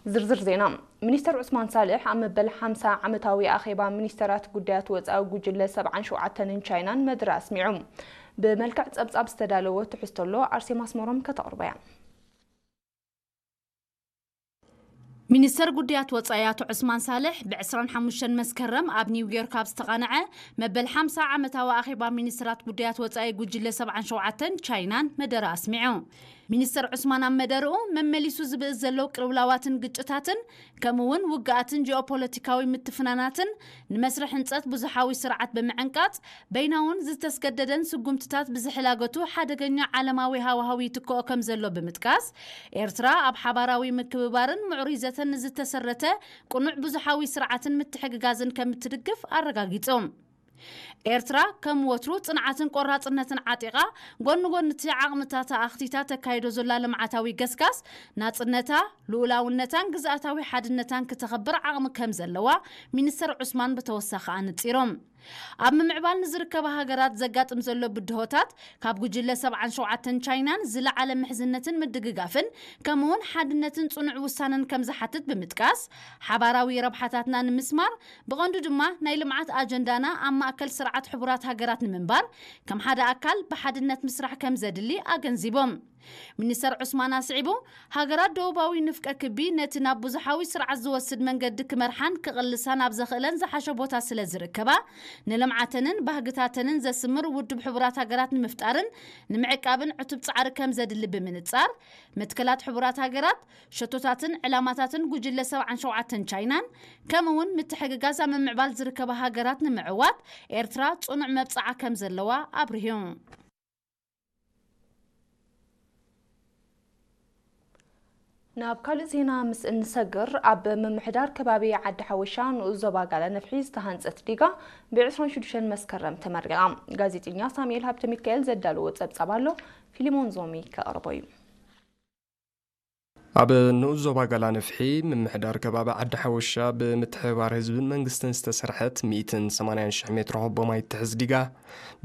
ዝርዝር ዜና። ሚኒስተር ዑስማን ሳልሕ ኣብ መበል ሓምሳ ዓመታዊ ኣኼባ ሚኒስተራት ጉዳያት ወጻኢ ጉጅለ ሰብዓን ሸውዓተን ቻይናን መደረ ኣስሚዑ። ብመልክዕ ጸብጻብ ዝተዳለወ ትሕዝቶ ኣሎ፣ ኣርሴማ ኣስመሮም ከተቕርቦ እያ። ሚኒስተር ጉዳያት ወጻኢ ኣቶ ዑስማን ሳልሕ ብ ዕስራን ሓሙሽተን መስከረም ኣብ ኒውዮርክ ኣብ ዝተቓንዐ መበል ሓምሳ ዓመታዊ ኣኼባ ሚኒስተራት ጉዳያት ወጻኢ ጉጅለ ሰብዓን ሸውዓተን ቻይናን መደረ ኣስሚዑ። ሚኒስተር ዑስማን ኣብ መደርኡ፣ መመሊሱ ዝብእስ ዘሎ ቅልውላዋትን ግጭታትን፣ ከምኡ እውን ውግኣትን ጂኦፖለቲካዊ ምትፍናናትን ንመስርሕ ህንጸት ብዙሓዊ ስርዓት ብምዕንቃጽ፣ በይናውን ዝተስገደደን ስጉምትታት ብዝሕላገቱ ሓደገኛ ዓለማዊ ሃዋህው ይትክኦ ከም ዘሎ ብምጥቃስ፣ ኤርትራ ኣብ ሓባራዊ ምክብባርን ምዕሩይ ዘተን ንዝተሰረተ ቅኑዕ ብዙሓዊ ስርዓትን ምትሕግጋዝን ከም እትድግፍ ኣረጋጊጹ። ኤርትራ ከም ወትሩ ጽንዓትን ቆራጽነትን ዓጢቓ፣ ጎኒ ጎኒ እቲ ዓቕምታታ ኣኽቲታ ተካይዶ ዘላ ልምዓታዊ ገስጋስ፣ ናጽነታ፣ ልኡላውነታን ግዝኣታዊ ሓድነታን ክተኸብር ዓቕሚ ከም ዘለዋ ሚኒስተር ዑስማን ብተወሳኺ ኣነጺሮም። ኣብ ምምዕባል ንዝርከባ ሃገራት ዘጋጥም ዘሎ ብድሆታት ካብ ጉጅለ ሰብዓን ሸውዓተን ቻይናን ዝለዓለ ምሕዝነትን ምድግጋፍን፣ ከምኡውን ሓድነትን ጽኑዕ ውሳነን ከም ዝሓትት ብምጥቃስ፣ ሓባራዊ ረብሓታትና ንምስማር፣ ብቐንዱ ድማ ናይ ልምዓት ኣጀንዳና ኣብ ማእከል ስርዓት ሕቡራት ሃገራት ንምንባር፣ ከም ሓደ ኣካል ብሓድነት ምስራሕ ከም ዘድሊ ኣገንዚቦም። ሚኒስተር ዑስማን ኣስዒቡ፣ ሃገራት ደቡባዊ ንፍቀ ክቢ ነቲ ናብ ብዙሓዊ ስርዓት ዝወስድ መንገዲ ክመርሓን ክቕልሳን ኣብ ዘኽእለን ዝሓሸ ቦታ ስለ ዝርከባ፣ ንልምዓተንን ባህግታተንን ዘስምር ውድብ ሕቡራት ሃገራት ንምፍጣርን ንምዕቃብን ዕቱብ ጻዕሪ ከም ዘድሊ ብምንጻር፣ መትከላት ሕቡራት ሃገራት፣ ሸቶታትን ዕላማታትን ጉጅለ ሰብዓን ሸውዓተን ቻይናን፣ ከምኡ እውን ምትሕግጋዝ ኣብ ምምዕባል ዝርከባ ሃገራት ንምዕዋት ኤርትራ ጽኑዕ መብጽዓ ከም ዘለዋ ኣብርሁ። ናብ ካልእ ዜና ምስ እንሰግር፣ ኣብ ምምሕዳር ከባቢ ዓዲ ሓወሻ ንኡስ ዞባ ጋላ ነፍሒ ዝተሃንጸት ዲጋ ብ ዕስራን ሽዱሽተን መስከረም ተመሪቓ። ጋዜጠኛ ሳሙኤል ሃብተ ሚካኤል ዘዳለዎ ጸብጻብ ኣሎ፣ ፊሊሞን ዞሚ ከቕርቦ እዩ። ኣብ ንኡስ ዞባ ጋላ ነፍሒ ምምሕዳር ከባቢ ዓዲ ሓወሻ ብምትሕብባር ህዝብን መንግስትን ዝተሰርሐት ሚእትን ሰማንያን ሽሕ ሜትሮ ሆቦ ማይ ትሕዝ ዲጋ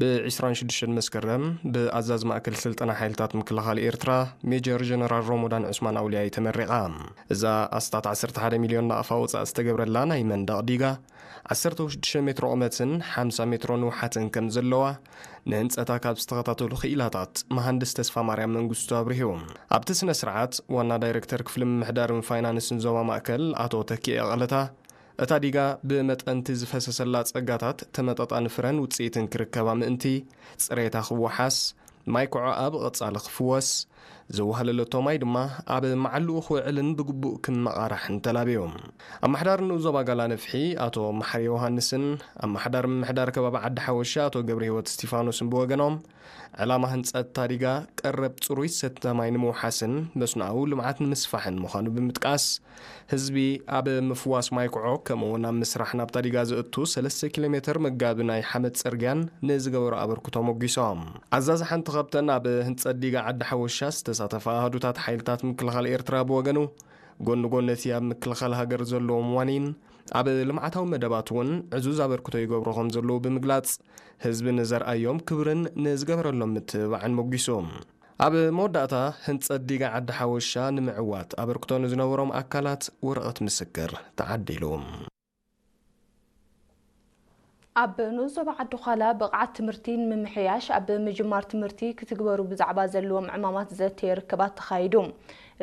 ብ ዕስራን ሽዱሽተን መስከረም ብኣዛዚ ማእከል ስልጠና ሓይልታት ምክልኻል ኤርትራ ሜጀር ጀነራል ሮሞዳን ዑስማን ኣውልያይ ተመሪቓ። እዛ ኣስታት ዓሰርተ ሓደ ሚልዮን ናቕፋ ወጻኢ ዝተገብረላ ናይ መንደቕ ዲጋ ዓሰርተ ሽዱሽተ ሜትሮ ቁመትን ሓምሳ ሜትሮ ንውሓትን ከም ዘለዋ ንህንጸታ ካብ ዝተኸታተሉ ክኢላታት መሃንድስ ተስፋ ማርያም መንግስቱ ኣብሪሁ። ኣብቲ ስነ ስርዓት ዋና ዳይረክተር ክፍሊ ምምሕዳርን ፋይናንስን ዞባ ማእከል ኣቶ ተኪኤ ቀለታ፣ እታ ዲጋ ብመጠን እቲ ዝፈሰሰላ ጸጋታት ተመጣጣኒ ፍረን ውጽኢትን ክርከባ ምእንቲ፣ ጽሬታ ክወሓስ፣ ማይ ኮዖኣ ብቐጻሊ ክፍወስ፣ ዝወሃለለቶ ማይ ድማ ኣብ መዓልኡ ክውዕልን ብግቡእ ክመቓራሕን ተላብዩ። ኣመሓዳሪ ንኡስ ዞባ ጋላ ነፍሒ ኣቶ መሓሪ ዮሃንስን ኣመሓዳሪ ምምሕዳር ከባቢ ዓዲ ሓወሻ ኣቶ ገብረ ህይወት እስቲፋኖስን ብወገኖም፣ ዕላማ ህንጸት እታ ዲጋ ቀረብ ጽሩይ ዝስተ ማይ ንምውሓስን መስኖኣዊ ልምዓት ንምስፋሕን ምዃኑ ብምጥቃስ፣ ህዝቢ ኣብ ምፍዋስ ማይ ኮዖ፣ ከምኡ እውን ኣብ ምስራሕ ናብታ ዲጋ ዘእቱ ሰለስተ ኪሎ ሜትር መጋቢ ናይ ሓመድ ጽርግያን ንዝገበሮ ኣበርክቶ ሞጒሶም። ኣዛዚ ሓንቲ ካብተን ኣብ ህንጸት ዲጋ ዓዲ ሓወሻ ዝተሳተፋ ኣሃዱታት ሓይልታት ምክልኻል ኤርትራ ብወገኑ፣ ጎኒ ጎኒ እቲ ኣብ ምክልኻል ሃገር ዘለዎም ዋኒን፣ ኣብ ልምዓታዊ መደባት እውን ዕዙዝ ኣበርክቶ ይገብሩ ከም ዘለዉ ብምግላጽ፣ ህዝቢ ንዘርኣዮም ክብርን ንዝገበረሎም ምትብባዕን ሞጒሱ። ኣብ መወዳእታ፣ ህንጸት ዲጋ ዓዲ ሓወሻ ንምዕዋት ኣበርክቶ ንዝነበሮም ኣካላት ወረቐት ምስክር ተዓዲሉ። ኣብ ንኡስ ዞባ ዓዲ ዃላ ብቕዓት ትምህርቲ ንምምሕያሽ ኣብ ምጅማር ትምህርቲ ክትግበሩ ብዛዕባ ዘለዎም ዕማማት ዘተየ ርክባት ተኻይዱ።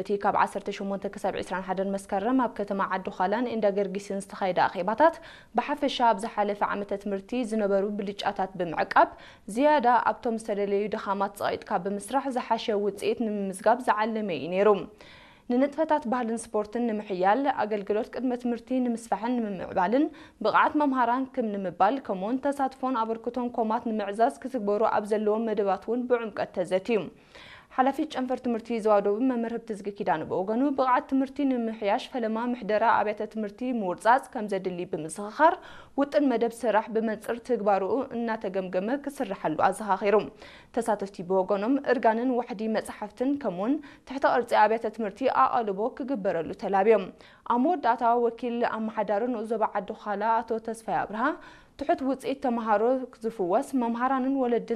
እቲ ካብ ዓሰርተ ሸሞንተ ክሳብ ዕስራን ሓደን መስከረም ኣብ ከተማ ዓዲ ዃላን እንዳ ገርጊስን ዝተኻየደ ኣኼባታት፣ ብሓፈሻ ኣብ ዝሓለፈ ዓመተ ትምህርቲ ዝነበሩ ብልጫታት ብምዕቃብ፣ ዝያዳ ኣብቶም ዝተደለዩ ድኻማት ጸቒጥካ ብምስራሕ ዝሓሸ ውጽኢት ንምምዝጋብ ዝዓለመ እዩ ነይሩ። ንንጥፈታት ባህልን ስፖርትን ንምሕያል፣ ኣገልግሎት ቅድመ ትምህርቲ ንምስፋሕን ንምምዕባልን፣ ብቕዓት መምሃራን ክም ንምባል፣ ከምኡውን ተሳትፎን ኣበርክቶን ኮማት ንምዕዛዝ ክትግበሩ ኣብ ዘለዎም መደባት እውን ብዕምቀት ተዘትዩ። ሓላፊት ጨንፈር ትምህርቲ ዞባ ደቡብ መምህር ህብትዝጊ ኪዳነ ብወገኑ፣ ብቕዓት ትምህርቲ ንምምሕያሽ ፈለማ ምሕደራ ኣብያተ ትምህርቲ ምውርጻጽ ከም ዘድሊ ብምዝኽኻር፣ ውጥን መደብ ስራሕ ብመንጽር ትግባርኡ እናተገምገመ ክስርሓሉ ኣዘኻኺሩ። ተሳተፍቲ ብወገኖም፣ እርጋንን ዋሕዲ መጻሕፍትን ከምኡውን ትሕተ ቅርጺ ኣብያተ ትምህርቲ ኣቓልቦ ክግበረሉ ተላብዮም። ኣብ መወዳእታ፣ ወኪል ኣመሓዳሪ ንኡስ ዞባ ዓዲ ዃላ ኣቶ ተስፋይ ኣብርሃ፣ ትሑት ውጽኢት ተመሃሮ ዝፍወስ፣ መምሃራንን ወለድን